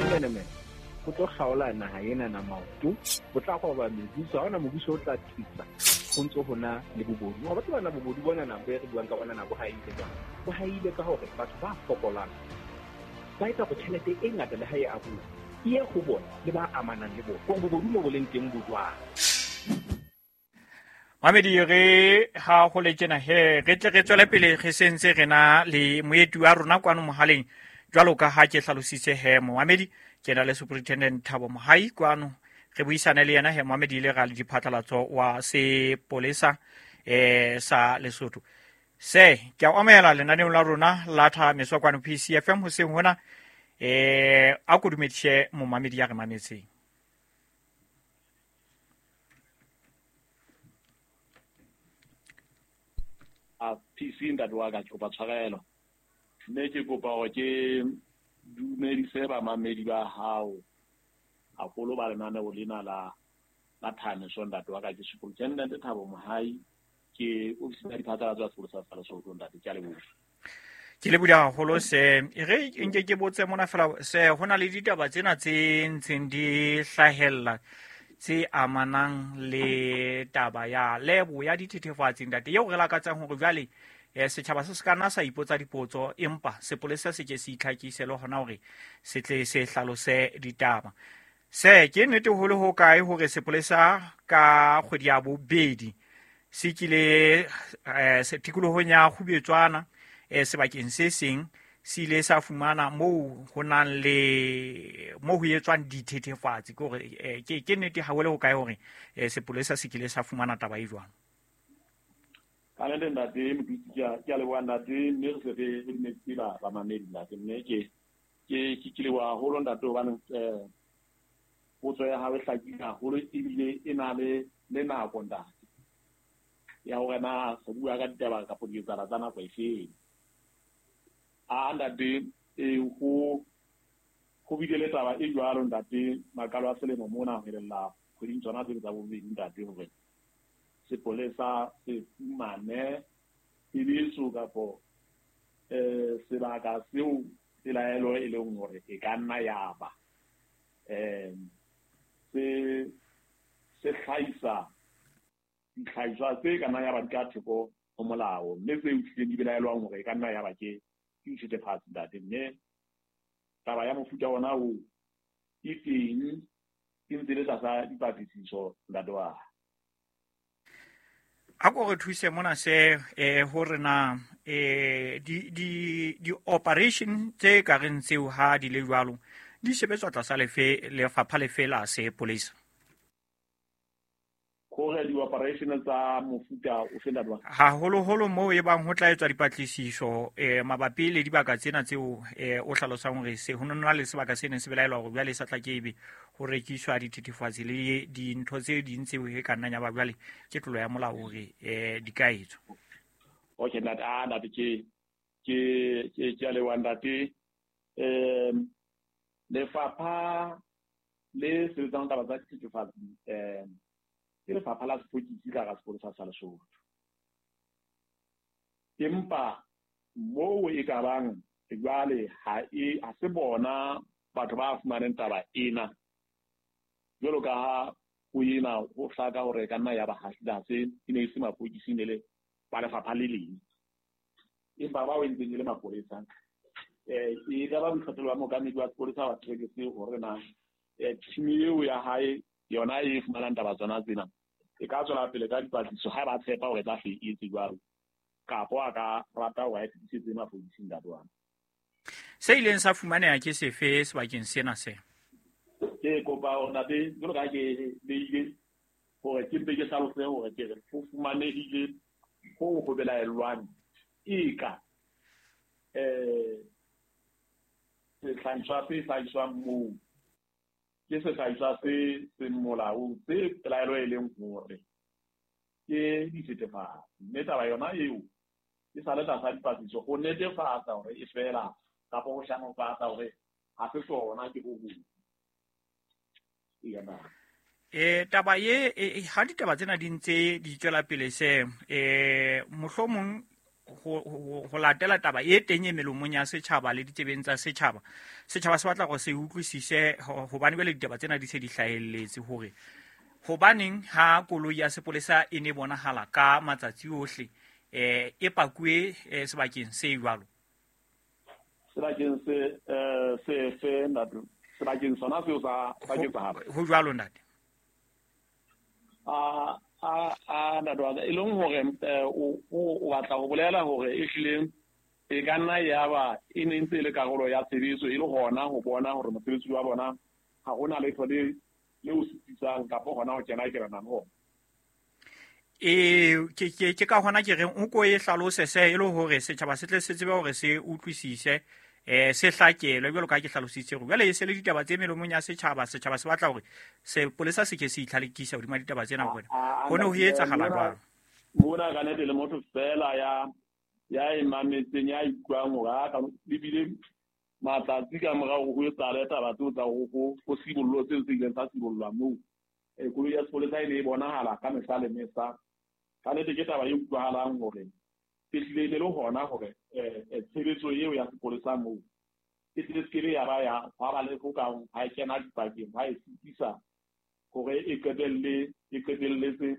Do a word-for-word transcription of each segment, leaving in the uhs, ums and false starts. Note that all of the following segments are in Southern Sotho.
Bomenemene bo tlo kgaola naha ena na maoto, bo tla roba mebuso, ha hona mobuso o tla thusa ho ntso ho na le bobodu. Wa batho bana bobodu bona na bo re buang ka bona na bo haile jwang? Bo haile ka hore batho ba fokolang ba etsa hore tjhelete e ngata le ha e abuwa e ye ho bona le ba amanang le bona. Hore bobodu mo bo leng teng bo jwang? Mamedi re ha ho le tjena he re tle re tswele pele re sentse re na le moeti wa rona kwano mohaleng jwalo ka ha ke hlalositse he Mohamedi ke na le Superintendent Thabo Mohai kwano re buisane le yena he Mohamedi ile ra le diphatlalatso wa sepolesa eh sa Lesotho. Se ke a o amohela lenaneong la rona la Thameso kwano P C F M hoseng hona eh a ko dumedise momamedi ya re mametseng. A P C ntate wa ka ke kopa tshwarelo mme ke kopa hore ke dumedise bamamedi ba hao haholo ba lenaneo lena la la Thameso ntate wa ka. Ke Superintendent Thabo Mohai, ke ofisi ya diphatlalatso ya sepolesa sa Lesotho ntate. Ke a leboha. Ke leboha haholo se e re nke ke botse mona fela se ho na le ditaba tsena tse ntseng di hlahella tse amanang le taba ya lebo ya dithethefatsi ntate eo re lakatsang hore jwale eh setjhaba se se ka nna sa ipotsa dipotso empa sepolesa se ke se itlhakise le hona hore se tle se hlalose ditaba. Se ke nnete ho le ho kae hore sepolesa ka kgwedi ya bobedi se kile eh se tikolohong ya Kgubetswana eh sebakeng se seng se ile sa fumana moo ho nang le moo ho etswang dithethefatsi ke hore ke ke nnete ha ho le ho kae hore sepolesa se kile sa fumana taba e jwang? Ka nnete ntate Motutsi, ke a ke a leboha ntate, mme re se re re dumedise ba bamamedi ntate, mme ke ke ke ke leboha haholo ntate hobane eh potso ya hao e hlakile haholo ebile e na le le nako ntate ya hore na re bua ka ditaba kapa diketsahalo tsa nako efeng. A ntate e ho ho bile le taba e jwalo ntate makalo a selemo mona ho elella kgweding tsona tse tsa bobedi ntate hore sepolesa se fumane tsebiso kapo eh sebaka seo pelaelo e leng hore e ka nna ya ba eh se se hlahisa dihlahiswa tse ka nna ya ba di ka theko ho molao mme tse utlwileng di belaelwang hore e ka nna ya ba ke ke dithethefatsi ntate. Mme taba ya mofuta ona o e teng e ntse le tlasa dipatlisiso ntate wa. A ko re thuse mona se eh hore na eh di di di operation tse ka reng tseo ha di le jwalo di sebetswa tlasa lefe lefapha lefe la sepolesa? Hore di operation tsa mofuta o fe ntate wa? Haholoholo moo e bang ho tla etswa dipatlisiso eh mabapi le dibaka tsena tseo eh o hlalosang hore se ho nna le sebaka se neng se belaelwa hore jwale sa tla ke ebe ho rekiswa dithethefatsi le dintho tse ding tseo e ka nnang ya ba jwale ke tlolo ya molao hore eh di ka etswa. Okay ntate, ah ntate ke ke ke ke a leboha ntate. Um lefapha le sebetsang taba tsa dithethefatsi um ke lefapha la sepolesa ka hara sepolesa sa Lesotho. Empa moo e ka bang jwale ha e ha se bona batho ba fumaneng taba ena jwalo ka ha ho ena ho hlaka hore e ka nna ya ba ha se e ne e se mapodisi ne le ba lefapha le leng empa bao e ntseng e le mapolesa eh e ka ba boikgethelo ba mookamedi wa sepolesa wa Trekese hore na eh team eo ya hae yona e fumanang taba tsona tsena e ka tswela pele ka dipatlisiso ha ba tshepa hore e tla hle e etse jwalo kapo a ka rata hore a e fetisetse mapodising ntate wa. Se ileng sa fumaneha ke sefe sebakeng sena se? Ke kopa hore ntate jwalo ka ha ke beile hore ke mpe ke hlalose hore ke re ho fumanehile ho ho belaellwang e ka eh sehlahiswa se hlahiswang moo ke sehlahiswa se seng molaong se pelaelo e leng hore ke dithethefatsi mme taba yona eo e sa le tlasa dipatlisiso ho netefatsa hore e fela kapa ho shanofatsa hore ha se sona ke ho hong. Eh taba ye ha ditaba tsena di ntse di tswela pele se eh mohlomong ho latela taba e teng e melomong ya setjhaba le ditsebeng tsa setjhaba. Setjhaba se batla hore se utlwisise hobane jwale ditaba tsena di se di hlahelletse hore hobaneng ha koloi ya sepolesa e ne bonahala ka matsatsi ohle eh e pakuwe sebakeng se jwalo. Sebakeng se eh se se ntate, sebakeng sona seo sa sa ketsahalo. Ho jwalo ntate. A a a ntate wa e leng hore o o batla ho bolela hore e hlile e ka nna ya ba e ne ntse le karolo ya tshebetso e le hona ho bona hore mosebetsi wa bona ha hona letho le le o sitisang kapa hona ho kena kena ho. E ke ke ke ka hona ke reng o ko e hlalose se e le hore setjhaba se tle se tsebe hore se utlwisise eh se hlakelwe jwalo ka ke hlalositse hore jwale e se le ditaba tse melomong ya setjhaba. Setjhaba se batla hore sepolesa se ke se itlhalekisa hodima ditaba tsena hore ho ne ho etsahala jwang. Mona ka nete le motho fela ya ya e mametseng ya ikutlwang hore a ka lebile matsatsi ka morao ho etsahale taba tseo tsa ho ho sibollo tseo tse ileng tsa sibollwa moo. E koloi ya sepolesa e ne e bonahala ka mehla le mehla. Ka nete ke taba e utlwahalang hore e hlile e le hona hore eh tshebetso eo ya sepolesa moo e tle se ke ya ba ya hwa ba le ho ka ha e kena dipakeng ha e sitisa hore e qetelle e qetelletse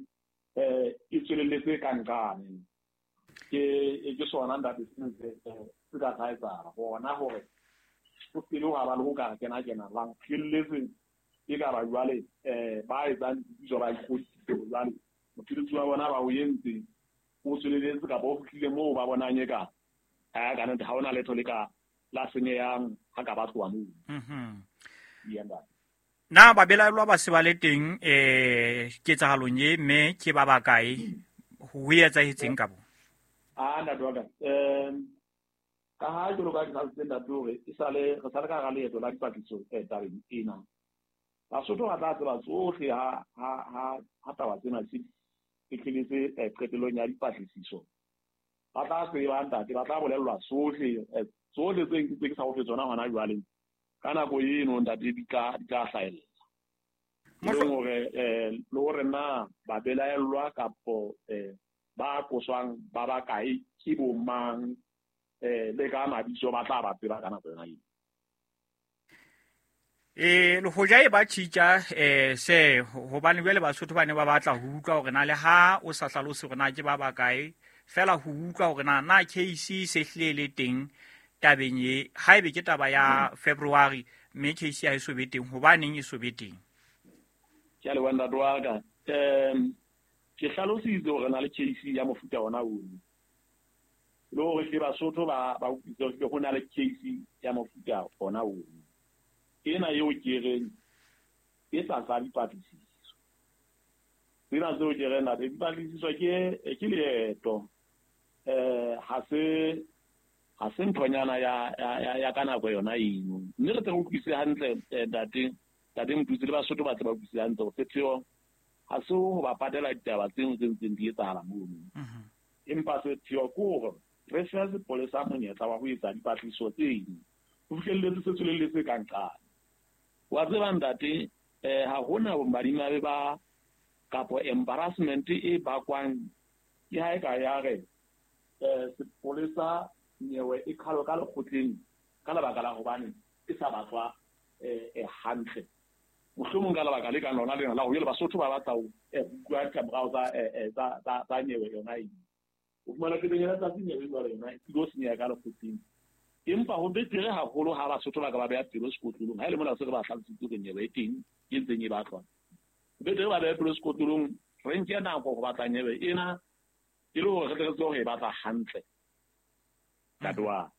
eh e tswelelletse ka nqane. Ke ke sona ntate se se ka sa etsahala hona hore ho se le ha ba le ho ka kena kena lang phelletse e ka ba jwale eh ba etsang ditso ba ikgodisitse jwale mosebetsi wa bona ba o entse o tswelelletse kapa o fihlile moo ba bonang e ka ha ka nete ha hona letho le ka la senyehang ha ka ba tloha moo. Mhm. Na ba belaellwa ba se ba le teng eh ketsahalong e mme ke ba bakae ho etsahetseng ka bo? Ah ntate wa ka um ka ha jwalo ka ke hlalositse ntate hore e sale re sale ka hara leeto la dipatlisiso tabeng ena. Basotho ba tla tseba tsohle ha ha ha ha taba tsena se fihlelletse qetellong ya dipatlisiso. Ba tla tseba ntate, ba tla bolellwa tsohle tsohle tse tse ke sa o fe tsona hona jwale. Ka nako eno ntate di tla di tla hlahella. E leng hore eh le hore na ba belaellwa kapo eh ba qoswang ba bakae ke bo mang eh le ka mabitso ba tla ba tseba ka nako yona eo. E le hoja e ba tjhitja eh se hobane jwale Basotho ba ne ba batla ho utlwa hore na le ha o sa hlalose hore na ke ba bakae fela ho utlwa hore na na case se hlile le teng tabeng e haebe ke taba ya February mme case ha e so be teng hobaneng e so be teng. Ke a leboha ntate wa ka. Um ke hlalositse hore na le case ya mofuta ona ono. Le hore hle Basotho ba ba utlwisise hore ho na le case ya mofuta ona ono. Ena eo ke reng e tlasa dipatlisiso. Tsena tseo ke reng ntate dipatlisiso ke ke leeto. Eh ha se ha se nthonyana ya ya ya ka nako yona eno. Mme re tle re utlwisise hantle ntate ntate Motutsi le Basotho ba tle ba utlwisise hantle hore sepheo ha se ho ba patela ditaba tseo tse ntseng di etsahala mono. Empa sepheo ke hore re fe sepolesa monyetla wa ho etsa dipatlisiso tse ding ho fihlelletse se tswelelletse ka nqane. Wa tseba ntate eh ha hona bomadimabe ba kapo embarrassment e bakwang ke ha e ka ya re eh sepolesa nyewe e qhalwa ka lekgotleng ka lebaka la hobane e sa batlwa eh hantle. Mohlomong ka lebaka le kang lona lena la hore Basotho ba batla ho utlwa ditlamorao tsa tsa tsa tsa nyewe yona eo. O fumana ke ya tsatsi nyewe jwale yona e tlo senyeha ka lekgotleng. Empa ho betere haholo ha Basotho ba ka ba beha pelo sekotlolong ha e le mona se re ba hlalositse hore nyewe e teng e ntseng e batlwa. Ho betere ba beha pelo sekotlolong re nke nako ho batla nyewe ena e le hore re tle re tsebe hore e batla hantle. Ntate wa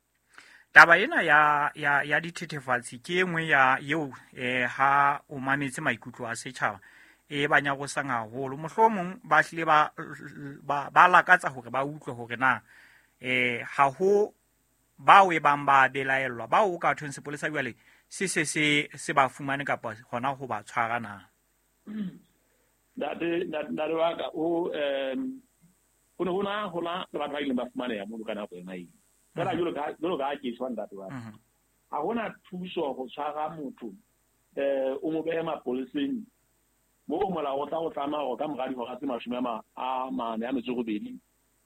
Taba ena ya ya ya dithethefatsi ke e nngwe ya eo eh ha o mametse maikutlo a setjhaba e ba nyarosang haholo. Mohlomong ba hlile ba ba ba lakatsa hore ba utlwe hore na eh ha ho bao e bang ba belaellwa bao o ka thweng sepolesa jwale se se se se ba fumane kapa hona ho ba tshwara na. Ntate ntate wa ka o um ho ne ho na ho na le batho ba ileng ba fumaneha mono ka nako yona eo. Fela jwalo ka jwalo ka ke tshwa ntate wa ka. Ha hona thuso ho tshwara motho eh o mo behe mapoleseng moo molao o tla o tlameha hore ka mora dihora tse mashome a mane a metso e robedi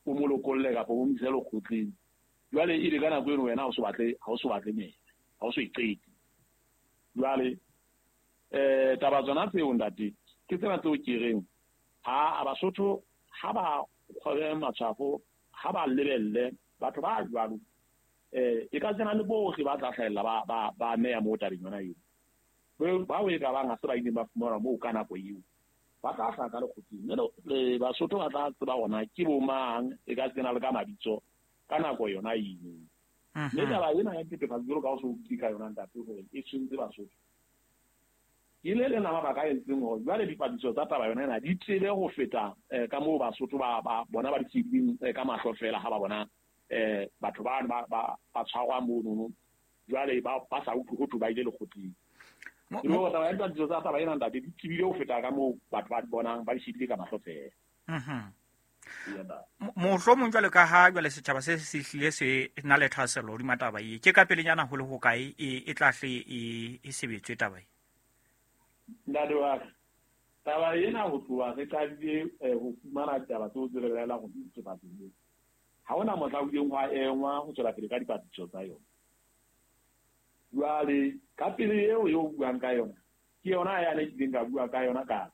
o mo lokolle kapa o mo ise lekgotleng. Jwale e le ka nako eno wena ha o so batle ha o so batle nyewe, ha o so e qete. Jwale eh taba tsona tseo ntate ke tsena tseo ke reng ha a Basotho ha ba kgobe matshwafo, ha ba lebelle batho ba jwalo eh e ka tsena le bohle ba tla hlahella ba ba ba meya mo tabeng yona eo. Ba o e ka bang ha se ba ileng ba fumana moo ka nako eo, ba tla hlaha ka lekgotleng. Mme le Basotho ba tla tseba hona ke bo mang, e ka tsena le ka mabitso ka nako yona eo. Mme taba ena ya dithethefatsi jwalo ka o so utlwile ka yona ntate hore e tshwentse Basotho. Ke le leng la mabaka a entseng hore jwale dipatlisiso tsa taba yona ena di tsebe ho feta ka moo Basotho ba ba bona ba di tsebileng ka mahlo fela ha ba bona eh batho bano ba ba ba tshwarwa monono, jwale ba ba sa utlwe ho thwe ba ile lekgotleng. Ke hore taba ya dipatlisiso tsa taba ena ntate di tsebile ho feta ka moo batho ba di bonang ba di shebile ka mahlo fela. Mhm. Mohlomong jwale ka ha jwale setjhaba se se hlile se na le thahasello hodima taba e, ke ka pelenyana ho le hokae e e tla hle e e sebetswe taba e? Ntate wa ka, taba ena ho tloha re qadile ho fumana ditaba tseo tse re belaelang hore di dithethefatsi moo, ha hona mohla ho ileng hwa engwa ho tswela pele ka dipatlisiso tsa yona. Jwale ka pele eo eo buang ka yona ke yona yane ke ileng ka bua ka yona ka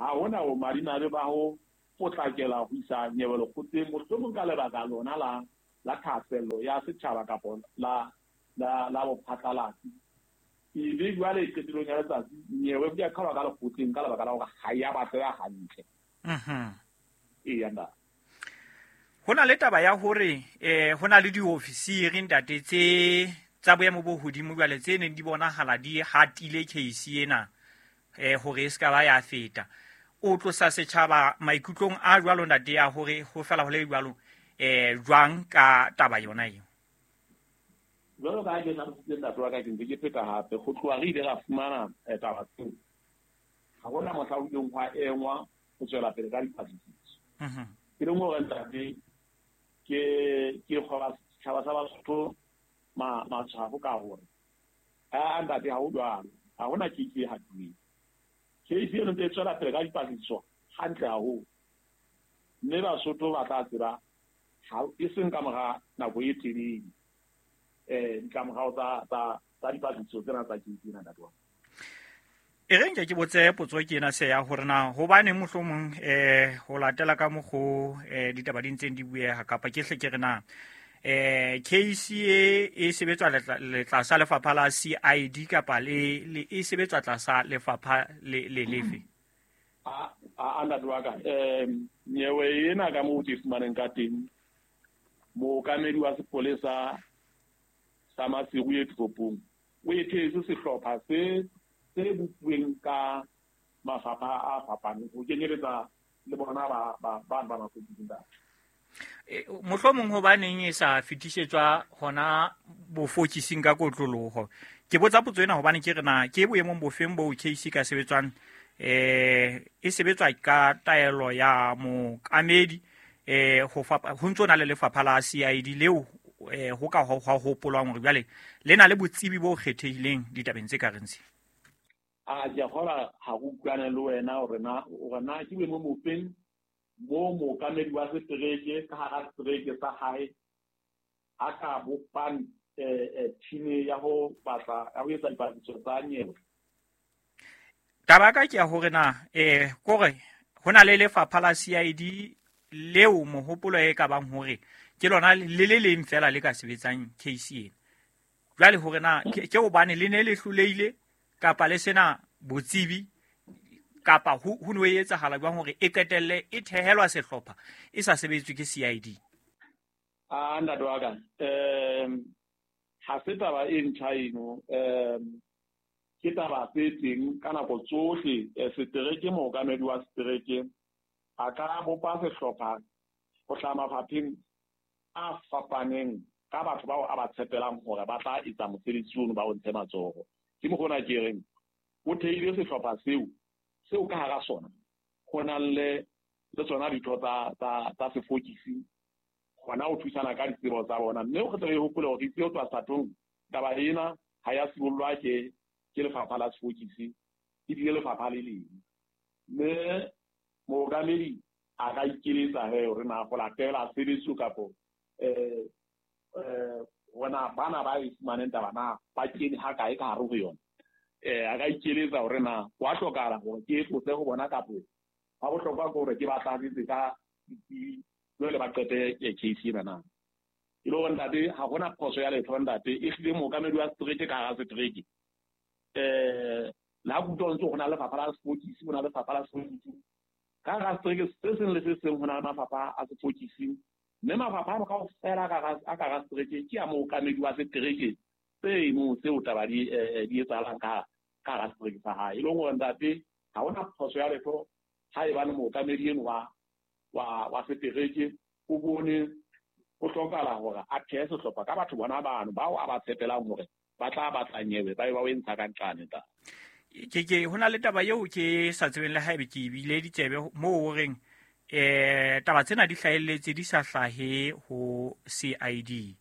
ha hona ho madimabe ba ho potlakela ho isa nyewe lekgotleng, mohlomong ka lebaka lona la la thahasello ya setjhaba kapa la la la bophatlalatsi. Ebe jwale qetellong ya letsatsi nyewe e a qhalwa ka lekgotleng ka lebaka la hore ha ya batleha hantle. Mhm. Eya ntate. Ho na le taba ya hore eh ho na le diofisiri ntate tse tsa boemo bo hodimo jwale tse neng di bonahala di hatile case ena eh hore e ska ba ya feta. O tlosa setjhaba maikutlong a jwalo ntate ya hore ho fela ho le jwalo eh jwang ka taba yona eo? Jwalo ka ha ke hlalositse ntate wa ka, ke ntse ke pheta hape ho tloha re ile ra fumana taba tseo, ha hona mohla ho ileng hwa engwa ho tswela pele ka dipatlisiso. Ke leng hore ntate ke ke kgoba setjhaba sa Basotho matshwafo ka hore a ntate ha ho jwalo, ha hona case e hatuweng. Case eno ntse e tswela pele ka dipatlisiso hantle haholo, mme Basotho ba tla tseba e seng ka mora nako e telele eh ditlamorao tsa tsa tsa dipatlisiso tsena tsa case ena ntate wa. E re nke ke botse potso ke ena se ya hore na hobaneng mohlomong eh ho latela ka mokgo eh ditaba di ntseng di bueha kapa ke hle ke re na eh case e e sebetswa letlasa lefapha la C I D kapa le le e sebetswa tlasa lefapha le le lefe? A a ntate wa ka, eh nyewe ena ka moo ke fumaneng ka teng, mookamedi wa sepolesa sa Maseru e toropong o ethetse sehlopha se se bopuweng ka mafapha a fapaneng ho kenyeletsa le bona ba ba ba ba mapodisi ntate. Mohlomong hobaneng e sa fetisetswa hona bofokising ka kotloloho? Ke botsa potso ena hobane ke re na ke boemong bofeng bo case ka sebetswang eh e sebetswa ka taelo ya mookamedi eh ho fapa ho ntso na le lefapha la C I D leo eh ho ka ho hopolwang hore jwale le na le botsebi bo kgethehileng ditabeng tse ka reng tse. A ke a kgolwa ha go utlwane le wena hore na hore na ke boemong bofeng mo mookamedi wa setereke ka hara setereke sa hae a ka bopang eh team ya ho batla ya ho etsa dipatlisiso tsa nyewe. Taba ka ke ya hore na eh kore ho na le lefapha la C I D leo mohopolo e ka bang hore ke lona le le leng fela le ka sebetsang case ena. Jwale hore na ke hobane le ne le hlolehile kapa le sena botsebi kapa ho ho no etsahala jwang hore e qetelle e thehelwa sehlopha e sa sebetswe ke C I D? A ntate wa ka, um ha se taba e ntjha eno, um ke taba tse teng ka nako tsohle. Setereke, mookamedi wa setereke a ka bopa sehlopha ho hlaha mafapheng a fapaneng ka batho bao a ba tshepelang hore ba tla etsa mosebetsi ono ba o ntshe matsoho. Ke mokgona ke reng o theile sehlopha seo seo ka hara sona ho nang le le tsona ditho tsa tsa tsa sefokisi hona ho thusana ka ditsebo tsa bona. Mme o tle re hopole hore tseo tswa satong taba ena ha ya sibollwa ke ke lefapha la sefokisi, ebile lefapha le leng. Mme mookamedi a ka ikeletsa he hore na go latela sebetso kapo eh eh hona bana ba e fumaneng taba na ba kene ha kae ka hare ho yona. Eh a ka ikeletsa hore na wa hlokahala hore ke e tlose ho bona kapo ha bohlokwa ke hore ke ba tlatsetse ka jwale ba qete case ena na. E le hore ntate ha hona phoso ya letho ntate, e hlile mookamedi wa setereke ka hara setereke. Eh la kutlwa ntse ho na lefapha la sepokisi, ho na lefapha la sepokisi. Ka hara setereke se seng le se seng ho na le mafapha a sepokisi. Mme mafapha ano kaofela a ka hara setereke ke a mookamedi wa setereke seno seo taba di di etsahalang ka ka hara setereke sa hae. E leng hore ntate ha hona phoso ya letho haebane mookamedi eno wa wa wa setereke o bone ho hlokahala hore a thehe sehlopha ka batho bona bano bao a ba tshepelang hore ba tla batla nyewe ba be ba o entsha ka nqane ta. Ke ke hona le taba eo ke sa tsebeng le haebe ke ebile ditsebe moo o reng eh taba tsena di hlahelletse di sa hlahe ho C I D.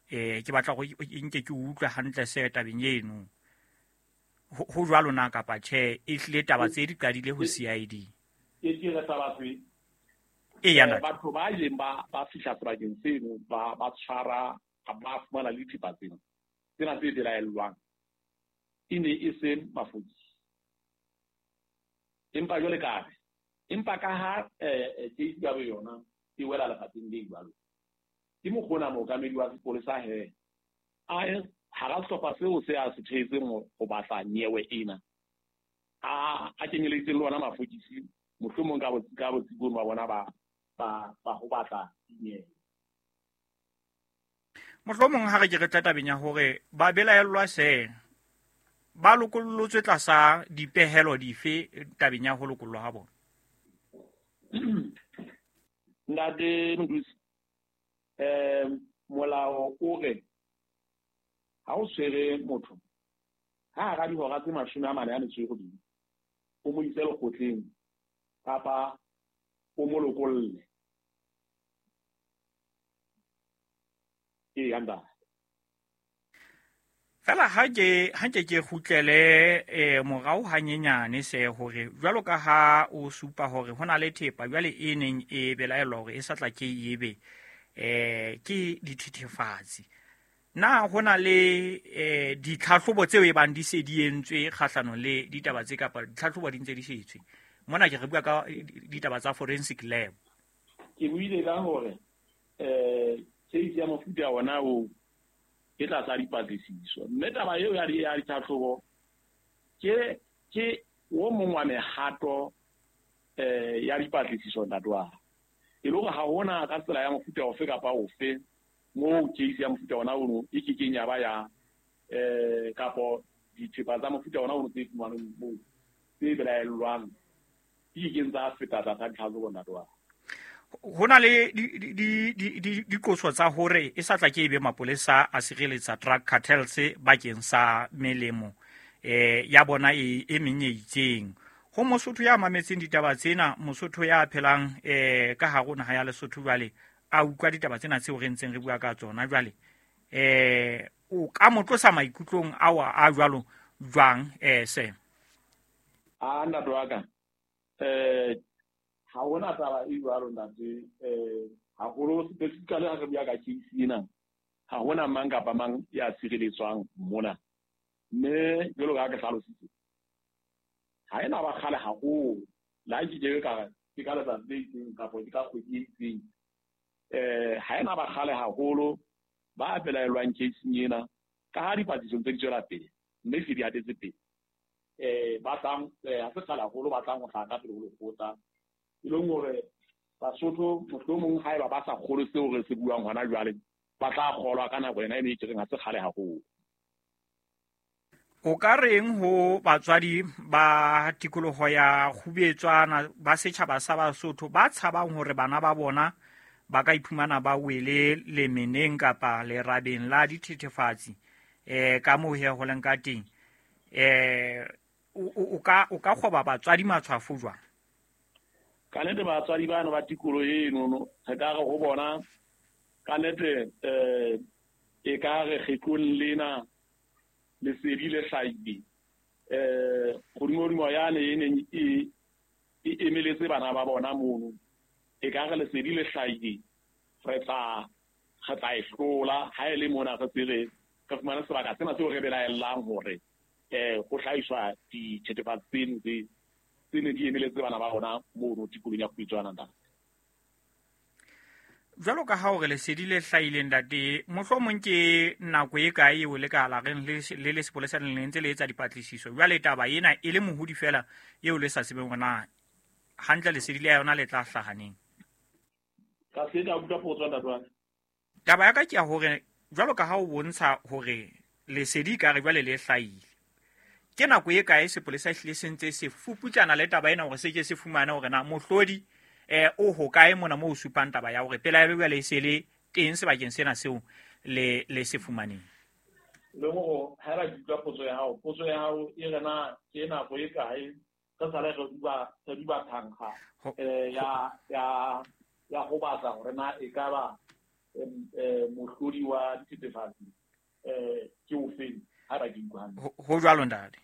Eh ke batla go nke ke utlwe hantle se tabeng eno. Ho jwalo na kapa tjhe, e hlile taba tse di qadile ho C I D. Ke ke re taba tse e yana batho ba ileng ba ba fihla sebakeng seno ba ba tshwara ba fumana le dithepa tsena tsena tse belaellwang e ne e se mafokisi. Empa jwale ka re empa ka ha eh case ya yona e wela lefapheng le jwalo, ke mokgona mookamedi wa sepolesa he a hara sehlopha seo se a se thehetseng ho batla nyewe ena a a kenyeleditseng le ona mafokisi mohlomong ka ka botsibong ba bona ba ba ba ho batla dinyewe. Mohlomong ha re ke re tla tabeng ya hore ba belaellwa se ba lokollotswe tlasa dipehelo dife tabeng ya ho lokollwa ha bona? Ntate Mdusi, eh molao o re ha o tshwere motho ha hara dihora tse mashome a mane a metso e robedi o mo ise lekgotleng kapa o mo lokolle. Ee, ntate. Fela ha ke ha nke ke kgutlele eh morao hanyenyane se hore jwalo ka ha o supa hore hona le thepa jwale e neng e belaellwa hore e sa tla ke ebe eh ke dithethefatsi. Na hona le eh ditlhahlobo tseo e bang di se di entswe kgahlanong le ditaba tse kapa ditlhahlobo di ntse di shetswe? Mona ke re bua ka ditaba tsa forensic lab. Ke buile ka hore eh case ya mofuta ona o e tlasa dipatlisiso, mme taba eo ya ya ditlhahlobo ke ke o mong wa mehato eh ya dipatlisiso ntate wa. E le hore ha hona ka tsela ya mofuta ofe kapa ofe moo case ya mofuta ona ono e kekeng ya ba ya eh kapo dithepa tsa mofuta ona ono tse fumanweng moo tse belaellwang di kekeng tsa feta tlasa ditlhahlobo ntate wa. Hona le di di di diqoso tsa hore e sa tla ke ebe mapolesa a sireletsa drug cartels bakeng sa melemo eh ya bona e e meng e itseng. Ho Mosotho ya mametseng ditaba tsena, Mosotho ya phelang eh ka hare ho naha ya Lesotho jwale a utlwa ditaba tsena tseo re ntseng re bua ka tsona jwale eh o ka mo tlosa maikutlong ao a jwalo jwang eh se? A ntate wa ka eh ha hona taba e jwalo ntate, eh haholo specifically ha re bua ka case ena ha hona mang kapa mang ya sireletswang mona. Mme jwalo ka ha ke hlalositse ha ena ba kgale haholo la ke ke ka ke ka letsatsi le itseng kapa ke ka kgwedi e itseng eh ha ena ba kgale haholo ba belaellwang case ena ka ha dipatlisiso tse di tswela pele mme se di hatetse pele eh ba tlang ha se kgale haholo ba tlang ho hlaha ka pele ho lekgotla. E leng hore Basotho mohlomong haeba ba sa kgolwe seo re se buang hona jwale ba tla kgolwa ka nako ena e ne e reng ha se kgale haholo. O ka reng ho batswadi ba tikoloho ya Kgubetswana ba setjhaba sa Basotho ba tshabang hore bana ba bona ba ka iphumana ba wele lemeneng kapa lerabeng la dithethefatsi eh ka moo he ho leng ka teng eh o ka o ka kgoba batswadi matshwafo jwang? Ka nnete batswadi bano ba tikoloho eno re ka re ho bona ka nnete eh e ka re kgetlong lena lesedi le hlahile eh hodimodimo yane e neng e e emeletse bana ba bona mono e ka re lesedi le hlahile re tla re tla e hlola ha e le mona re se re re fumane sebaka sena seo re belaellang hore eh ho hlahiswa dithethefatsi tseno tse tse ne di emeletse bana ba rona mono tikolong ya Khujwana ntate. Jwalo ka ha hore lesedi le hlahileng ntate, mohlomong ke nako e kae eo le ka la reng le le sepolesa le ntse le etsa dipatlisiso. Jwale taba ena e le mohodi fela eo le sa tsebeng hore na hantle lesedi le yona le tla hlaha neng. Ka se ka utlwa potso ntate wa ka. Taba ya ka ke ya hore jwalo ka ha o bontsha hore lesedi ka re jwale le hlahile, ke nako e kae sepolesa ehlile se ntse se fuputsana le taba ena hore se ke se fumane hore na mohlodi eh o hokae mona moo o supang taba ya hore pelaelo jwale e se le teng sebakeng sena seo le le se fumaneng. Le hore ha ra utlwa potso ya hao, potso ya hao e re na ke nako e kae re sale re duba re duba thankga eh ya ya ya ho batla hore na e ka ba eh mohlodi wa dithethefatsi eh ke ofeng ha ra ke utlwa hantle. Ho jwalo ntate.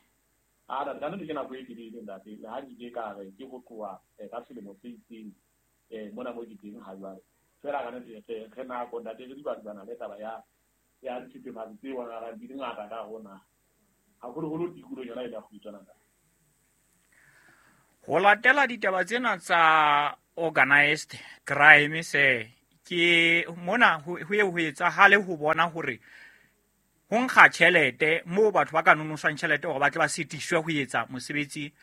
A da ntate ke nako e telele ntate, le ha ke ka re ke ho tloha ka selemo se itseng eh mona mo ke teng ha jwale. Fela ka nnete re re nako ntate re di batla le taba ya ya dithethefatsi tse bonahalang di le ngata ka hona. Haholoholo tikolong yona e la Khujwana ntate. Ho latela ditaba tsena tsa organized crime se ke mona ho ye ho etsahale ho bona hore ho nkga tjhelete moo batho ba ka nonoswang tjhelete hore ba tle ba sitiswe ho etsa mosebetsi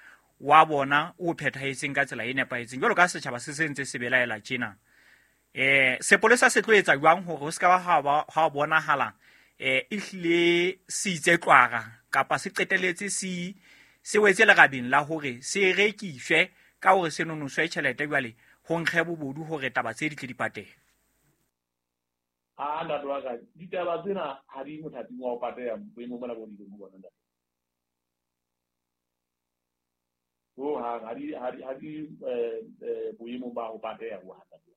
wa bona o phethahetseng ka tsela e nepahetseng jwalo ka setjhaba se se ntse se belaela tjena. Eh sepolesa se tlo etsa jwang hore ho se ka ba ha bonahala eh ehlile se itse tlwara kapa se qeteletse se se wetse lerabeng la hore se rekiswe ka hore se nonoswe tjhelete jwale ho nkge bobodu hore taba tse di tle di patehe. A ntate wa ka, ditaba tsena ha di mothating wa ho pateha boemong bona bo di leng ho bona ntate. Ho hang ha di ha di ha di eh boemong ba ho pateha ho hang ntate.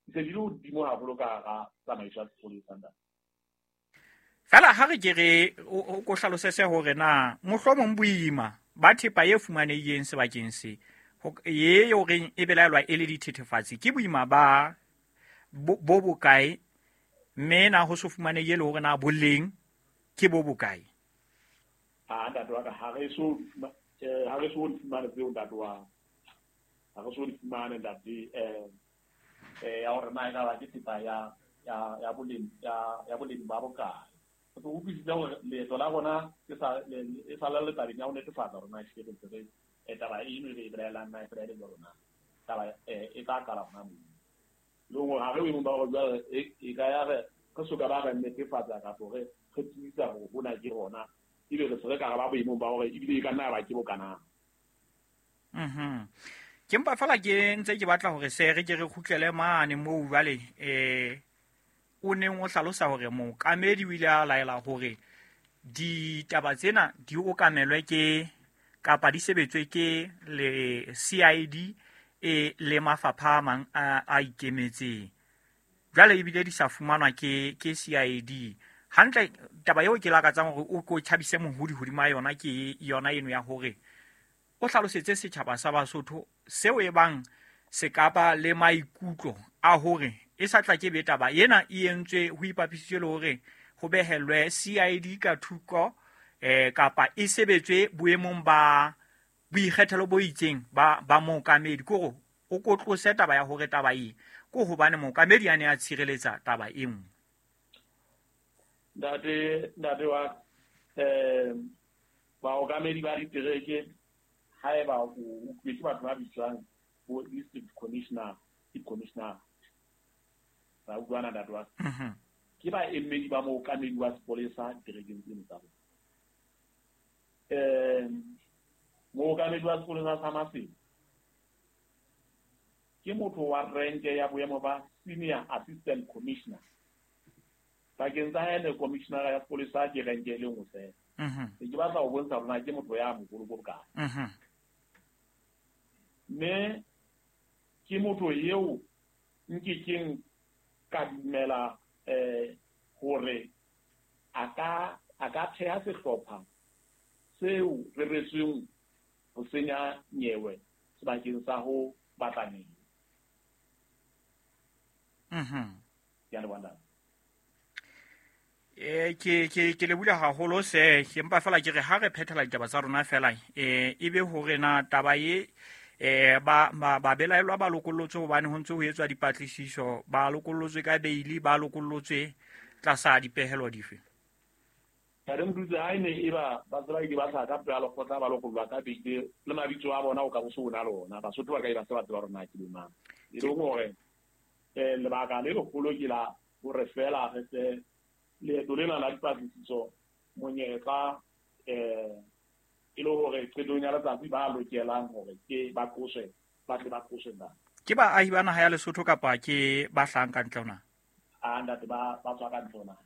Di se di le hodimo haholo ka hara tsamaiso ya sepolesa ntate. Fela ha re ke re o ko hlalosetse hore na mohlomong boima ba thepa e fumanehileng sebakeng se ye horeng e belaelwa e le dithethefatsi ke boima ba bo bokae mme na ho so fumanehile le hore na boleng ke bo bokae. A ntate wa ka ha re so ha re so fumane tseo ntate wa ha re so fumane ntate eh eh ya hore na e ka ba ke thepa ya ya ya boleng ya ya boleng ba bokae. Re utlwisisa hore leeto la rona ke sa e sa le tabeng ya ho netefatsa hore na ehlile ntse re taba eno e re e belaelang na e fela e le jwalo na taba e tla qala hona moo. Le hore ha re boemong ba hore jwale e ka ya re re soka ba re netefatsa kapo re re tiisa hore hona ke hona ebe re se re ka re ba boemong ba hore ebile e ka nna ya ba ke bokanang. Mhm. Ke mpa fela ke ntse ke batla hore se re ke re kgutlele mane moo jwale eh o neng o hlalosa hore mookamedi o ile a laela hore ditaba tsena di okamelwe ke kapa di sebetswe ke le C I D e le mafapha a mang a, a ikemetseng. Jwale ebile di sa fumanwa ke ke C I D. Hantle taba eo ke lakatsang hore o ko tjhabise mohodi hodima yona ke yona eno ya hore o hlalosetse setjhaba sa Basotho seo e bang se kapa le maikutlo a hore e sa tla ke be taba ena e entswe ho ipapisitswe le hore ho behellwe C I D ka thoko eh kapa e sebetswe boemong ba boikgethelo bo itseng ba ba mookamedi kore o kotlose taba ya hore taba e ko hobane mookamedi a ne a tshireletsa taba e nngwe. Ntate ntate wa eh baokamedi ba ditereke haeba o utlwetse batho ba bitswang bo district commissioner, chief commissioner ba utlwana ntate wa ke ba emedi ba mookamedi wa sepolesa diterekeng tseno tsa bona. Eh mookamedi wa sepolesa sa Maseru ke motho wa renke ya boemo ba senior assistant commissioner. Pakeng tsa hae le commissioner ya sepolesa ke renke e le nngwe fela. Ke batla ho bontsha hore na ke motho ya moholo bo bokae. Mme ke motho eo nkekeng ka dumela eh hore a ka a ka theha sehlopha seo reretsweng ho senya nyewe sebakeng sa ho batla nyewe. Mhm. Ke a leboha ntate. Eh ke ke ke le bula haholo se ke mpa fela ke re ha re phethela ditaba tsa rona fela eh ebe hore na taba e eh ba ba ba belaelwa ba lokollotswe hobane ho ntse ho etswa dipatlisiso, ba lokollotswe ka beili, ba lokollotswe tlasa dipehelo dife? Ntate Mdutse, ha e ne e ba ba tsela di ba tlha ka pela lekgotla ba lokollwa ka beile le mabitso a bona o ka bo se ona le ona. Basotho ba ka e ba se ba tseba hore na ke bo mang. E leng hore eh lebaka le leholo ke la hore fela re se leeto lena la dipatlisiso monyetla eh e le hore qetong ya letsatsi ba lokelang hore ke ba qoswe, ba tle ba qoswe na. Ke baahi ba naha ya Lesotho kapa ke ba hlahang ka ntle ho naha? A ntate, ba ba tswa ka ntle ho naha.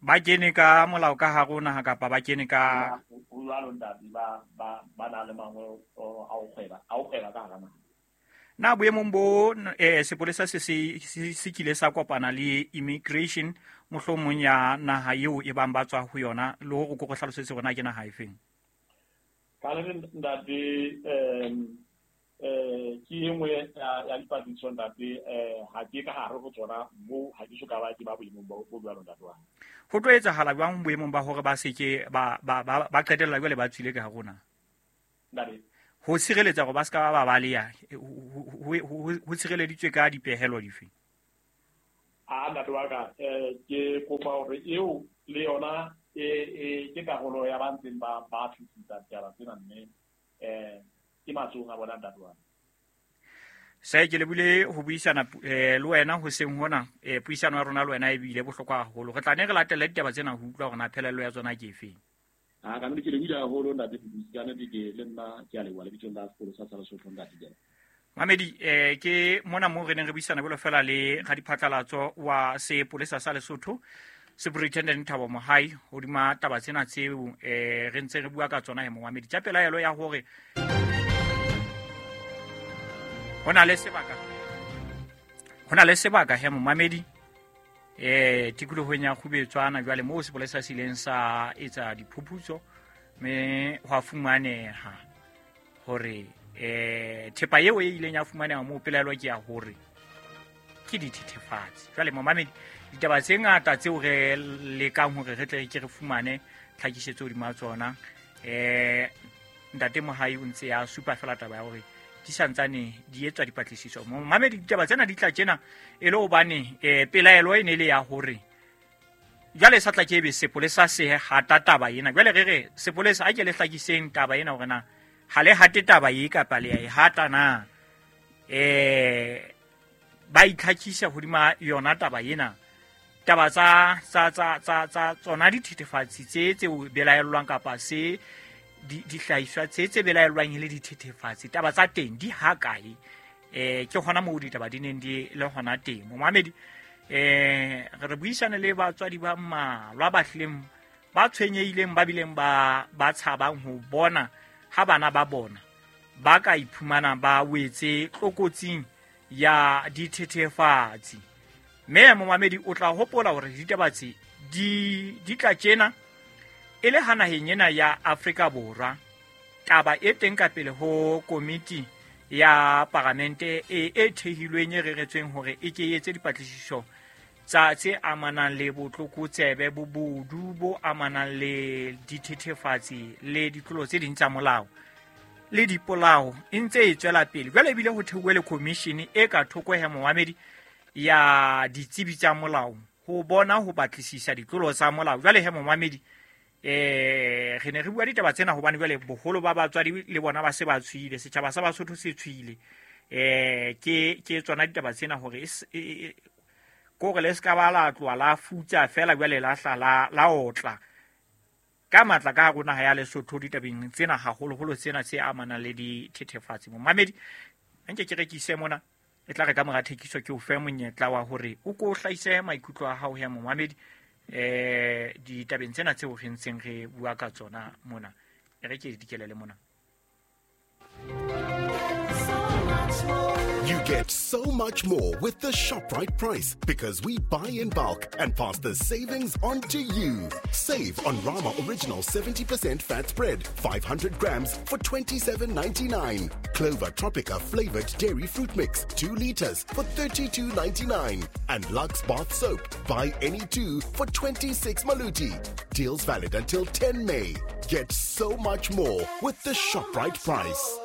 Ba kene ka molao ka hare ho naha kapa ba kene ka ho jwalo ntate, ba ba ba na le mangolo a ho kgweba, a ho kgweba ka hara naha. Na boemong bo eh sepolesa se se se kile sa kopana le immigration mohlomong ya naha eo e bang ba tswa ho yona, le hore ko go hlalosetse hore na ke naha efeng? Ka le ntate, em eh ke e nngwe ya ya dipatlisiso ntate, eh ha ke ka hare ho tsona moo, ha ke so ka ba ke ba boemong bo bo jwalo ntate wa. Ho tlo etsahala jwang boemong ba hore ba se ke ba ba ba qetella jwale ba tswile ka hare ho naha? Ntate, ho sireletsa hore ba se ka ba baleha, ho sireleditswe ka dipehelo dife? A ntate wa ka, eh ke kopa hore eo le yona e e ke karolo ya ba ntseng ba ba tlisitsa ditaba tsena, mme eh ke matsohong a bona ntate wa ka. Se ke lebile ho buisana eh le wena hoseng hona, eh puisano ya rona le wena e bile bohlokwa haholo. Re tla ne re latele ditaba tsena ho utlwa hore na phelelo ya tsona ke efeng. A ka nnete ke lebile haholo ntate Mdutse, ka nnete ke le nna ke a leboha lebitsong la sekolo sa Lesotho ntate ke. Mamedi, eh ke mona moo re neng re buisana jwalo fela le radiphatlalatso wa sepolesa sa Lesotho, Superintendent Thabo Mohai, hodima taba tsena tseo eh re ntse re bua ka tsona he momamedi. Tsa pelaelo ya hore ho na le sebaka, ho na le sebaka he momamedi eh tikolohong ya Kgubetswana jwale moo sepolesa se ileng sa etsa diphuputso mme hwa fumaneha hore eh thepa eo e ileng ya fumaneha moo pelaelo ke ya hore ke dithethefatsi. Jwale momamedi, ditaba tse ngata tseo re lekang hore re tle ke re fumane tlhakisetso hodima tsona, eh ntate Mohai o ntse ya supa fela taba ya hore di santsane di etswa dipatlisiso. Momamedi, ditaba tsena di tla tjena e le hobane eh pelaelo e ne le ya hore jwale sa tla ke ebe sepolesa se hata taba ena. Jwale re re sepolesa a ke le hlakiseng taba ena hore na ha le hate taba e kapa le ya e hata na, eh ba itlhakisa hodima yona taba ena. Taba tsa tsa tsa tsa tsa tsona dithethefatsi tse tse belaellwang kapa se di dihlahiswa tse tse belaellwang e le dithethefatsi, taba tsa teng di ha kae? Eh ke hona moo ditaba di neng di le hona teng. Momamedi, eh re buisane le batswadi ba mmalwa ba hlileng ba tshwenyehileng, ba bileng ba ba tshabang ho bona ha bana ba bona ba ka iphumana ba wetse tlokotsing ya dithethefatsi. Mme momamedi o tla hopola hore ditaba tse di di tla tjena e le ha naheng ena ya Afrika Borwa taba e teng ka pele ho komiti ya paramente e e thehilweng e reretsweng hore e ke etse dipatlisiso tsa tse amanang le botlokotsebe, bobodu bo amanang le dithethefatsi le ditlolo tse ding tsa molao le dipolao e ntse e tswela pele. Jwale ebile ho theuwe le commission e ka thoko he momamedi ya ditsebi tsa molao ho bona ho batlisisa ditlolo tsa molao. Jwale he momamedi, eh re ne re bua ditaba tsena hobane jwale boholo ba batswadi le bona ba se ba tshwile, setjhaba sa Basotho se tshwile. Eh ke ke tsona ditaba tsena hore ko re le ska ba la tloha la futsa fela jwale la hla la la otla ka matla ka hare ho naha ya Lesotho ditabeng tsena haholoholo tsena tse amanang le dithethefatsi. Momamedi, nke ke rekise mona e tla re ka mora thekiso ke o fe monyetla wa hore o ko hlahise maikutlo a hao he momamedi eh ditabeng tsena tseo re ntseng re bua ka tsona mona. E re ke dikelele mona. So much more. You get so much more with the ShopRite price because we buy in bulk and pass the savings on to you. Save on Rama Original seventy percent fat spread, five hundred grams for twenty-seven ninety-nine. Clover Tropica flavored dairy fruit mix, two liters for thirty-two ninety-nine. And Lux bath soap, buy any two for twenty-six maluti. Deals valid until ten May. Get so much more with the ShopRite price.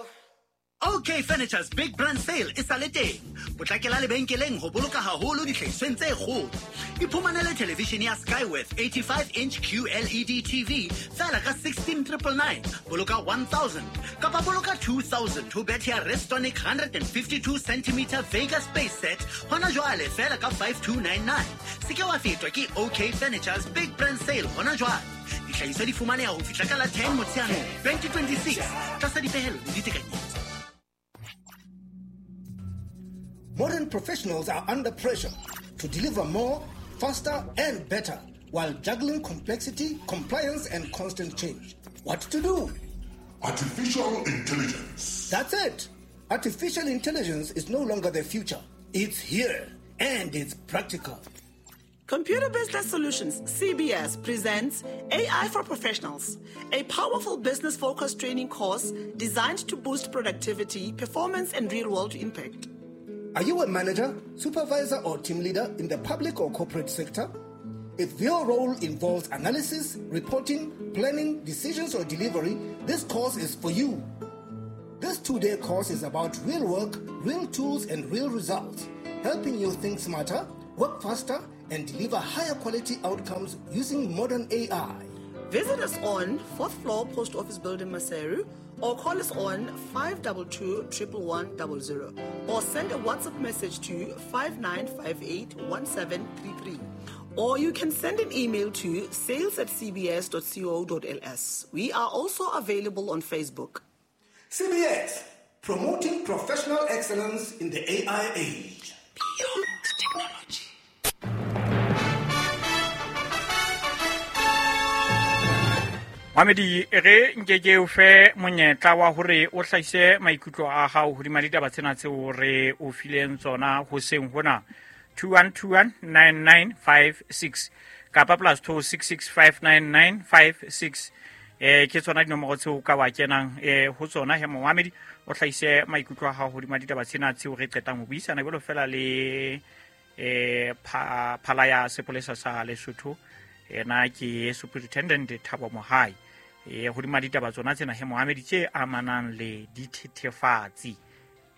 OK Furniture's Big Brand Sale e sa le teng. Potlakela lebenkeleng ho boloka haholo dihlahisweng tse kgolo. Iphumanele television ya Skyworth eighty-five inch Q L E D T V fela ka sixteen triple nine, boloka one thousand kapa boloka two thousand ho bethe ya Restonic one hundred fifty-two centimeter Vega Space Set hona jwale fela ka five two nine nine. Se ke wa fetwa ke OK Furniture's Big Brand Sale hona jwale. Dihlahiswa di fumaneha ho fihla ka la ten Motsheanong twenty twenty-six tlasa dipehelo le ditekanyetso. Modern professionals are under pressure to deliver more, faster, and better while juggling complexity, compliance, and constant change. What to do? Artificial intelligence. That's it. Artificial intelligence is no longer the future. It's here, and it's practical. Computer Business Solutions, C B S, presents A I for Professionals, a powerful business-focused training course designed to boost productivity, performance, and real-world impact. Are you a manager, supervisor, or team leader in the public or corporate sector? If your role involves analysis, reporting, planning, decisions, or delivery, this course is for you. This two-day course is about real work, real tools, and real results, helping you think smarter, work faster, and deliver higher quality outcomes using modern A I. Visit us on fourth floor Post Office Building, Maseru, or call us on five two two, one one one zero zero, or send a WhatsApp message to five nine five eight, one seven three three. Or you can send an email to sales at c b s dot co dot l s. We are also available on Facebook. C B S, promoting professional excellence in the A I age. Beyond technology. Mamedi re nke ke o fe monyetla wa hore o hlahise maikutlo a hao hodima ditaba tsena tseo re o fileng tsona hoseng hona two one two one nine nine five six kapa plus two six six five nine nine five six. Eh ke tsona dinomoro tseo ka wa kenang eh ho tsona he momamedi o hlahise maikutlo a hao hodima ditaba tsena tseo re qetang ho buisana jwalo fela le eh phala ya sepolesa sa Lesotho. Ena ke Superintendent Thabo Mohai e hodima ditaba tsona tsena he Mohamedi tse amanang le dithethefatsi.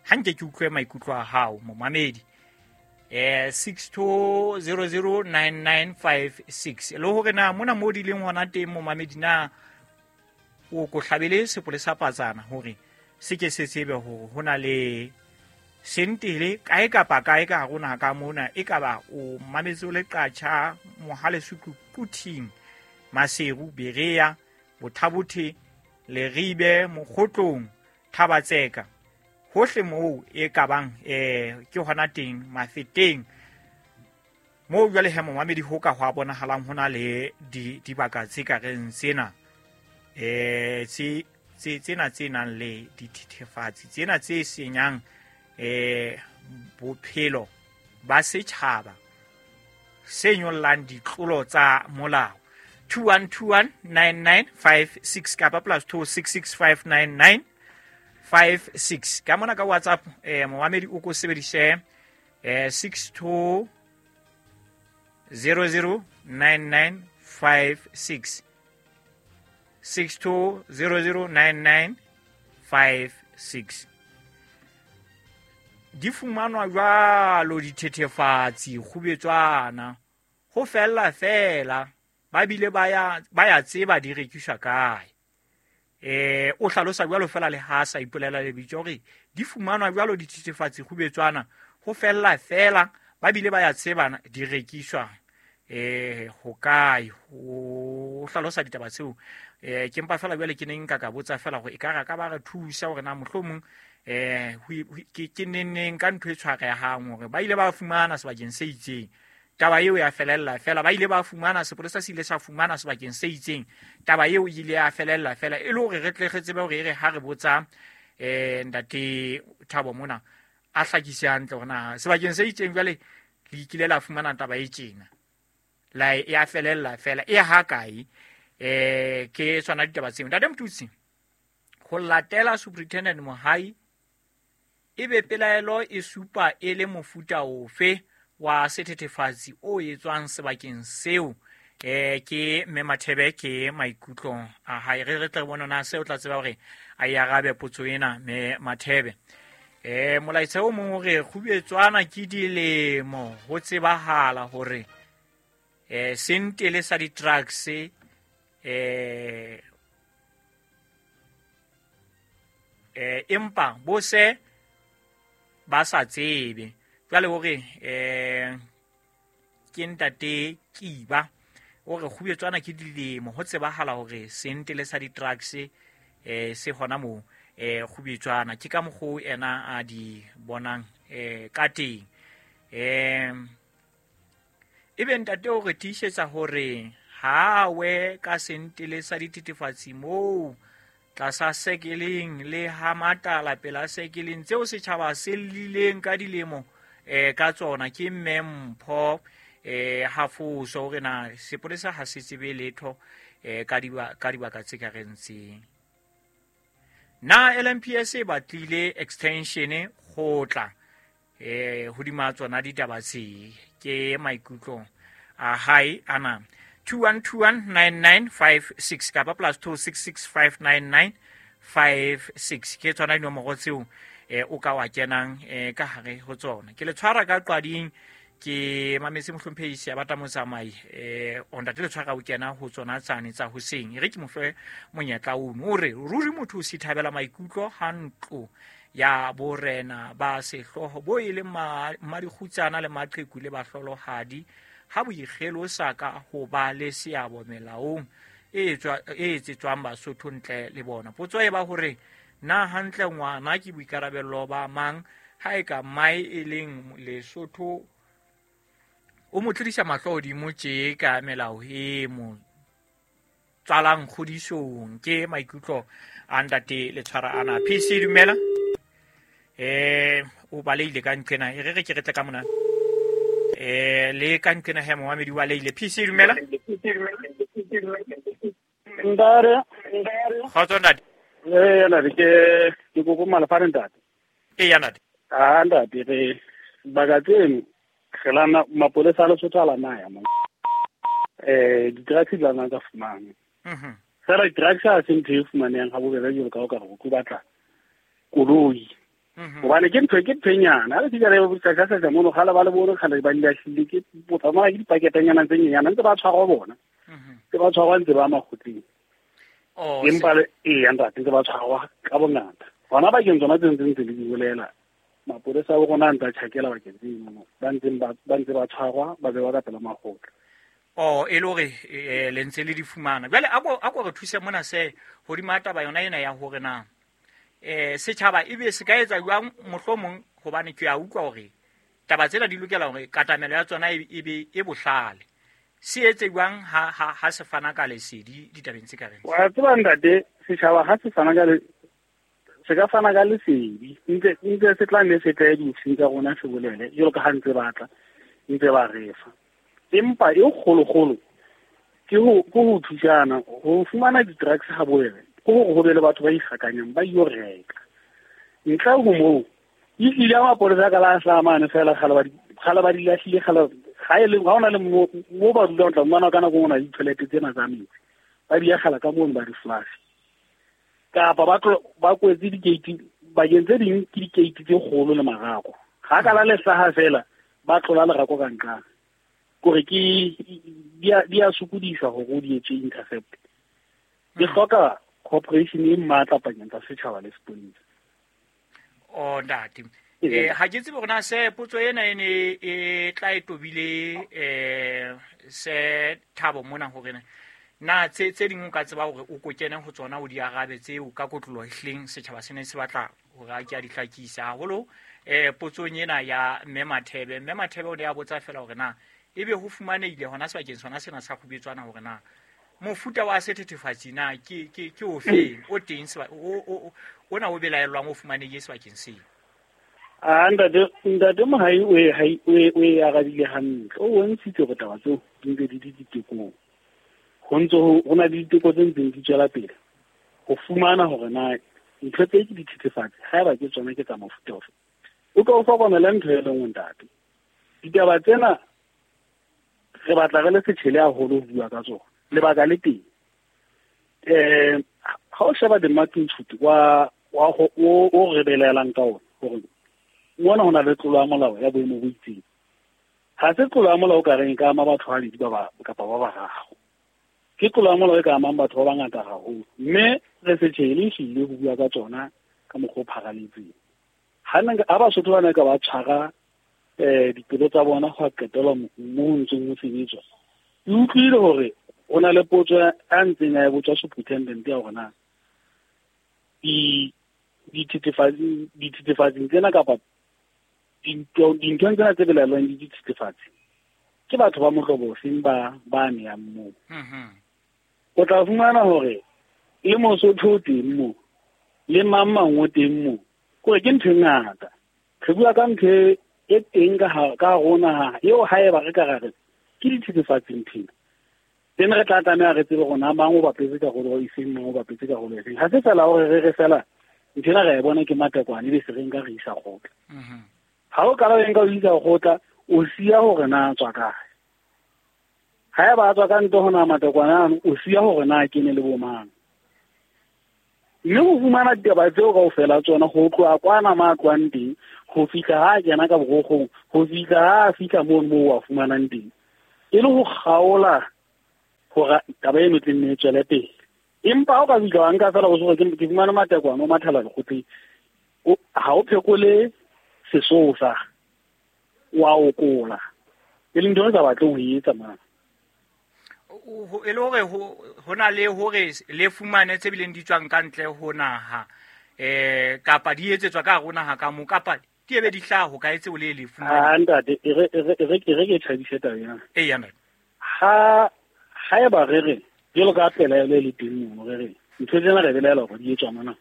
Ha nke ke utlwe maikutlo a hao momamedi eh six two zero zero nine nine five six le hore na mona mo di leng hona teng momamedi na o ko hlabele sepolesa patsana hore se ke se tsebe hore hona le sentele kae kapa kae ka rona ka mona e ka ba o mametse o le qatjha mohale suku Quthing Maseru Berea Bothabothe Leribe Mokgotlong Thabatseka hohle moo e ka bang eh ke hona teng Mafeteng moo jwale he momamedi ho ka ho bonahalang hona le dibaka tse ka reng tsena eh tse tsena tse nang le dithethefatsi tsena tse senyang eh bophelo ba setjhaba se nyollang ditlolo tsa molao. Two one two one nine nine five six kapa plus two six six five nine nine five six. Ka mona ka WhatsApp eh momamedi o ko sebedise eh six two zero zero nine nine five six six two zero zero nine nine five six. Di fumanwa jwalo dithethefatsi kgubetswana ho fella fela ba bile ba ya ba ya tseba di rekiswa kae. Eh o hlalosa jwalo fela le ha sa ipolela lebitso hore di fumanwa jwalo dithethefatsi kgubetswana ho fella fela ba bile ba ya tseba di rekiswa eh ho kae. O hlalosa ditaba tseo eh ke mpa fela jwale ke neng nka ka botsa fela hore e ka ra ka ba re thusa hore na mohlomong eh ke ke neneng ka ntho e tshwarehang hore ba ile ba fumana sebakeng se itseng taba eo ya felella fela, ba ile ba fumana sepolesa se ile sa fumana sebakeng se itseng taba eo e ile ya felella fela e le hore re tle re tsebe hore e re ha re botsa eh ntate Thabo mona a hlakise hantle hore na sebakeng se itseng jwale le ikile la fumana taba e tjena la e a felella fela e ha kae eh ke tsona ditaba tseo. Ntate Motutsi, ho latela Superintendent Mohai ebe pelaelo e supa e le mofuta ofe wa sethethefatsi o etswang sebakeng seo? Eh ke Mme Mathebe ke maikutlo a hae. Re re tle re bone na se o tla tseba hore a e arabe potso ena Mme Mathebe. Eh molaetsa o mong o re kgubetswana ke dilemo ho tsebahala hore eh sentele sa di-drugs eh eh empa bo se ba sa tsebe. Jwale hore eh ke ntate Kiba o re kgubetswana ke dilemo ho tsebahala hore sentele sa di-drugs eh se hona moo eh kgubetswana ke ka mokgo ena a di bonang eh ka teng. Eh ebe ntate o re tiisetsa hore ha we ka sentele sa dithethefatsi moo tlasa sekeleng le ha matala pela sekeleng tseo setjhaba se lileng ka dilemo eh ka tsona ke Mme Mpho eh hafoso hore na sepolesa ha se tsebe letho eh ka diba ka dibaka tse ka reng tseng. Na L M P S e batlile extension go tla eh hodima tsona ditaba tse ke maikutlo a hae ana. Two one two one nine nine five six kapa plus two six six five nine nine five six ke tsona dinomoro tseo eh o ka wa kenang eh ka hare ho tsona. Ke le tshwara ka qading ke mametse mohlomphehi ya batla motsamai eh o ntate le tshwara o kena ho tsona tsane tsa hoseng. E re ke mofe monyetla ono o re ruri motho o sithabela maikutlo ha ntlo ya borena ba sehloho bo e leng madikgutsana le maqheku le bahlolohadi ha boikgelosa ka ho ba le seabo melaong e etswa e etsetswang Basotho ntle le bona. Potso e ba hore na hantle ngwana ke boikarabello ba mang ha e ka mae e leng Lesotho o mo tlodisa mahlo hodimo tje ka melao e mo tswalang kgodisong. Ke maikutlo a ntate le tshwara ana. P C dumela eh o baleile ka nqena e re re ke re tle ka mona eh le ka nqena he momamedi wa leile. P C dumela. Ndare kgotso ntate. Eh na ke ke kopo malafare ntate. E ya ntate. Ah ntate re baka tseno re lana mapolesa a Lesotho a lana ya mo eh di-drugs di lana tsa fumana. Mhm. Fela di-drugs ha se ntho e fumanehang ha bobebe jwalo ka o ka re o tlo batla koloi. Hobane ke ntho ke ntho e nyane. Ha re fihla re sasa mono kgale ba le bone kgale ba di lahlile ke bo tsamaya ke dipaketenyana tse nyenyana ntse ba tshwarwa bona. Ntse ba tshwarwa ntse ba makgotleng. Oh, empa le ee ntate ntse ba tshwarwa ka bongata. Hona bakeng tsona tse ntse ntse le di bolela. Mapolesa a bo rona a ntse a tjhakela bakeng tseno ba ntseng ba ba ntse ba tshwarwa ba bewa ka pela makgotla. Oh, e le hore le ntse le di fumana. Jwale a ko a ko re thuse mona se hodima taba yona ena ya hore na eh setjhaba ebe se ka etsa jwang mohlomong hobane ke a utlwa hore taba tsena di lokela hore katamelo ya tsona e be e bohlale. Se etse jwang ha ha ha se fana ka lesedi ditabeng tse ka reng? Wa tseba ntate setjhaba ha se fana ka le se ka fana ka lesedi ntse ntse se tla nne se tle diofising tsa rona se bolele jwalo ka ha ntse batla ntse ba refa. Empa e kgolokgolo ke ho ke ho thusana ho fumana di-drugs ha bobebe ke hore ho be le batho ba ikgakanyang ba yo reka. Ntle ho moo e tlile ya mapolesa ka la hlaha mane fela kgale ba di kgale ba di lahlile kgale ga e le ga ona le mo mo ba dulang o tla fumana ka nako e nngwe di-toilet tsena tsa metsi ba di akgela ka mono ba di flush. Kapa ba tlo ba kwetse di-gate bakeng tse ding ke di-gate tse kgolo le marako. Ga ka la lehlaha fela ba tlola lerako ka nqane. Kore ke di a di a sokodisa hore o di etse intercept. Di hloka cooperation e matla pakeng tsa setjhaba le sepolesa. Oh ntate. Eh ha ke tsebe hore na se potso ena e ne e tla e tobile eh se Thabo mona hore na na tse tse ding o ka tseba hore o ko kene ho tsona o di arabe tseo ka kotloloho ehleng setjhaba se ne se batla hore a ke a di hlakisa haholo eh potsong ena ya Mme Mathebe. Mme Mathebe o ne a botsa fela hore na ebe ho fumanehile hona sebakeng sona sena sa kgubetswana hore na mofuta wa sethethefatsi na ke ke ke ofe o teng o o ona o belaellwang o fumanehile sebakeng seo. A ntate ntate Mohai o e hai o e o e arabile hantle. O bontshitse hore taba tseo di ntse di di ditekong. Ho ntse ho na le diteko tse ntseng di tswela pele ho fumana hore na ntho tse ke dithethefatsi haeba ke tsona ke tsa mofuta ofe. O ka o hlokomela ntho e le nngwe ntate. Ditaba tsena re batla re le setjhele haholo ho bua ka tsona. Lebaka le teng. Eh ha o sheba the-magnitude wa wa o o re belaelang ka ona hore mona ho na le tlolo ya molao ya boemo bo itseng. Ha se tlolo ya molao ka reng ka ama batho ba babedi ba ba kapa ba bararo. Ke tlolo ya molao e ka amang batho ba bangata haholo. Mme re setjhele ehlile ho bua ka tsona ka mokgwa o pharaletseng. Ha nna ha Basotho ba ne ka ba tshwara eh dipelo tsa bona ho qetelwa mo ho ntseng ho sebetswa. Ke utlwile hore o na le potso a ntseng a e botswa superintendent ya hore na di dithethefatsi dithethefatsi tsena kapa dinthong tsena tse belaelwang di dithethefatsi ke batho ba mohlobo ofeng ba ba neyang moo. O tla fumana hore le Mosotho o teng moo le mang mang o teng moo. Kore ke ntho e ngata. Re bua ka ntho e teng ka ka rona eo haeba re ka ra re ke dithethefatsi nthwena. Teng re tla tlameha re tsebe hore na mang o bapetse karolo e feng, mang o bapetse karolo e feng. Ha se fela hore re re fela nthwena re e bona ke matekwane ebe se re nka re isa kgotla. Ha o qala o nka o isa kgotla, o siya hore na tswa kae. Haeba a tswa ka ntle ho na matekwane ano, o siya hore na kene le bo mang. Mme ho fumana ditaba tseo kaofela tsona ho tloha kwana ma tlohang teng, ho fihla ha kena ka borokgong, ho fihla ha fihla mono moo wa fumanang teng. E le ho kgaola hore taba eno e tla nne e tswele pele. Empa ha o ka fihla wa nka fela o se hore ke fumane matekwane o mathela lekgotleng, ha o phekole sesosa, wa okola. E leng ntho e sa batleng ho e etsa mane. E le hore ho na le hore le fumane tse bileng di tswang ka ntle ho naha eh kapa di etsetswa ka hare ho naha ka mo kapa di ebe di hlaha ho ka etse o le le fumane. Ah ntate e re e re e re ke thabise taba ena. Eh ya ntate. Ha haeba re re jwalo ka pelaelo e le teng mono re re ntho tsena re belaela hore di etswa mona.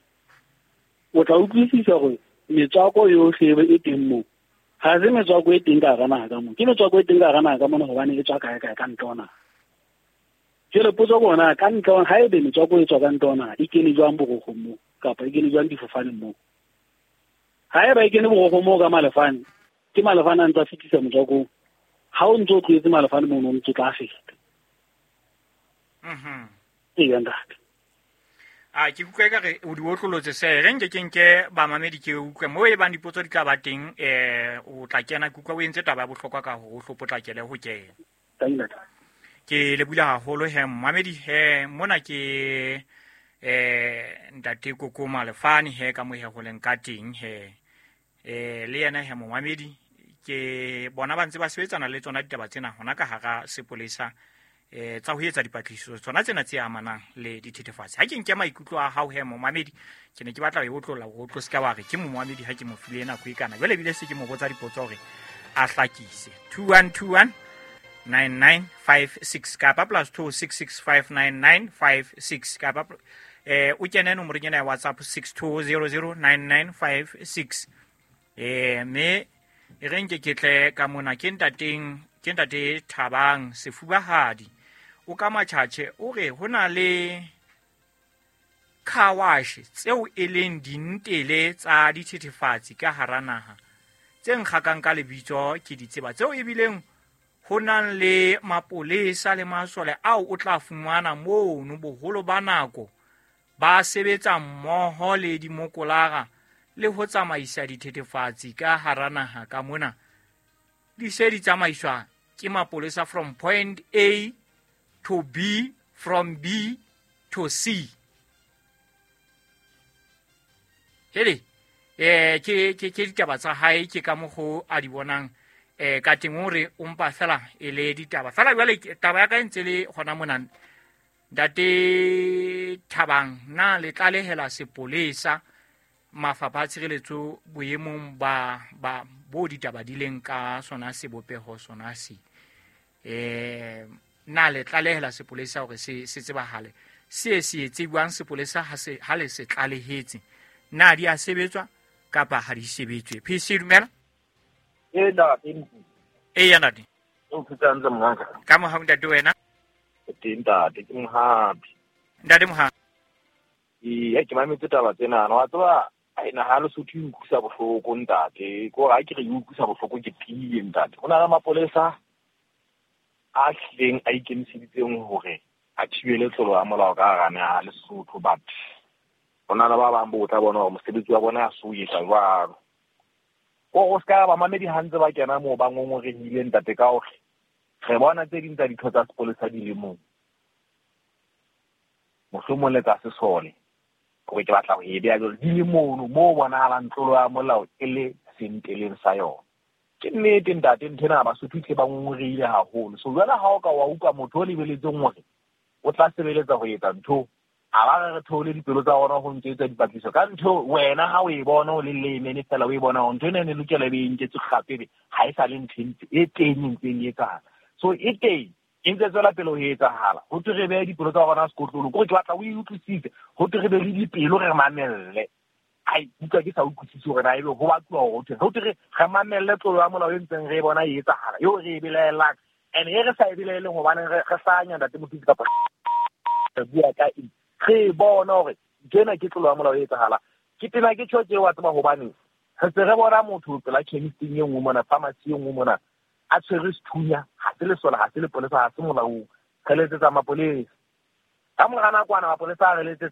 O tla utlwisisa hore metswako yohle e teng moo. Ha se metswako e teng ka hara naha ka moo. Ke metswako e teng ka hara naha ka mona hobane e tswa kae kae ka ntle ho naha. Jwale potso ke hore na ka ntle ha ebe metswako e tswa ka ntle ho naha e kene jwang borokgong moo kapa e kene jwang difofaneng moo. Haeba e kene borokgong moo ka malefane, ke malefane a ntse a fetisa motswako. Ha o ntso o tlohetse malefane mono o ntso tla feta. Mhm. Ee ntate. A ke utlwe ka re o di otlolotse se re nke ke nke bamamedi ke utlwe mo e bang dipotso di tla ba teng eh o tla kena ke utlwa o entse taba ya bohlokwa ka hore o hlo potlakele ho kena. Ntate. Ke le bula haholo he mmamedi he mona ke eh ntate Koko Malefane he ka mo he ho leng ka teng he eh le yena he momamedi ke bona ba ntse ba sebetsana le tsona ditaba tsena hona ka hara sepolesa eh tsa ho etsa dipatlisiso tsona tsena tse amanang le dithethefatsi. Ha ke nke maikutlo a hao he momamedi ke ne ke batla ho otlolla ho tlo ska wa re ke momamedi ha ke mo file nako e kana jwale ebile se ke mo botsa dipotso hore a hlakise. Two one two one nine nine five six kapa plus two six six five nine nine five six kapa eh o kene nomorong ena ya WhatsApp six two zero zero nine nine five six eh me e re nke ke tle ka mona ke ntateng ke ntate Thabang Sefubahadi o ka Matjhatjhe o re ho na le car wash tseo e leng dintele tsa dithethefatsi ka hara naha tse nkgakang ka lebitso ke di tseba tseo ebileng ho nang le mapolesa le masole ao o tla fumana mono boholo ba nako ba sebetsa mmoho le dimokolara le ho tsamaisa dithethefatsi ka hara naha ka mona. Di se di tsamaiswa ke mapolesa from point A to B, from B to C. Hele, eh ke ke ke ditaba tsa hae ke ka mokgo a di bonang eh ka teng hore o mpa fela e le ditaba. Fela jwale taba ya ka e ntse le hona mona. Ntate Thabang na le tlalehela sepolesa mafapha a tshireletso boemong ba ba bo ditaba di leng ka sona sebopeho sona se. Eh na le tlalehela sepolesa hore se se tsebahale. Se se tsebwang sepolesa ha se ha le se tlalehetse. Na di a sebetswa kapa ha di sebetswe. P C dumela. E ntate. E ya ntate. O phetse hantle mongaka. Ka mohau ntate wena. Teng ntate ke Mohapi. Ntate Mohapi. Ee, ke mametse taba tsena. Wa tseba ai na ha Lesotho e utlwisa bohloko ntate. Ko ha ke re e utlwisa bohloko ke tiile ntate. Ho na le mapolesa a hlileng a ikemiseditseng hore a thibele tlolo ya molao ka hara naha Lesotho, but ho na le ba bang bo tla bona hore mosebetsi wa bona ha se o etsa jwalo. Ko o ska ba mamedi ha ntse ba kena moo ba ngongorehile ntate ka hore re bona tse ding tsa ditho tsa sepolesa di le moo. Mohlomong le tsa sesole. Hore ke batla ho e beha jwalo di le mono moo bonahalang tlolo ya molao e le senteleng sa yona. Ke nnete ntate ntho ena Basotho tle ba ngongorehile haholo. So jwale ha o ka wa utlwa motho o lebeletseng hore o tla sebeletsa ho etsa ntho, a ba re re theole dipelo tsa rona ho ntse etsa dipatlisiso ka ntho wena ha o e bona o le lemene fela o e bona hore ntho ena e ne lokela e be e nketswe kgape ebe ha e sa le ntho e teng e ntseng e etsahala. So e teng e ntse tswela pele ho etsahala. Ho thwe re behe dipelo tsa rona sekotlolo, kore ke batla o e utlwisise. Ho thwe re be le dipelo re mamelle. Ai utlwa ke sa utlwisise hore na ebe ho batluwa hore ho thwe ho thwe re re mamelle tlolo ya molao e ntseng re e bona e etsahala eo re e belaelang. And e re sa e belaeleng hobane re re hlanya ntate Mothusi kapa re bua ka eng. Re bona hore ntho ena ke tlolo ya molao e etsahala. Ke tena ke tjho tje wa tseba hobane re se re bona motho pela chemisting e nngwe mona, pharmacy e nngwe mona, a tshwere sethunya, ha se lesole, ha se lepolesa, ha se molaong. Re letsetsa mapolesa. Ka mora nakwana mapolesa a re letsetsa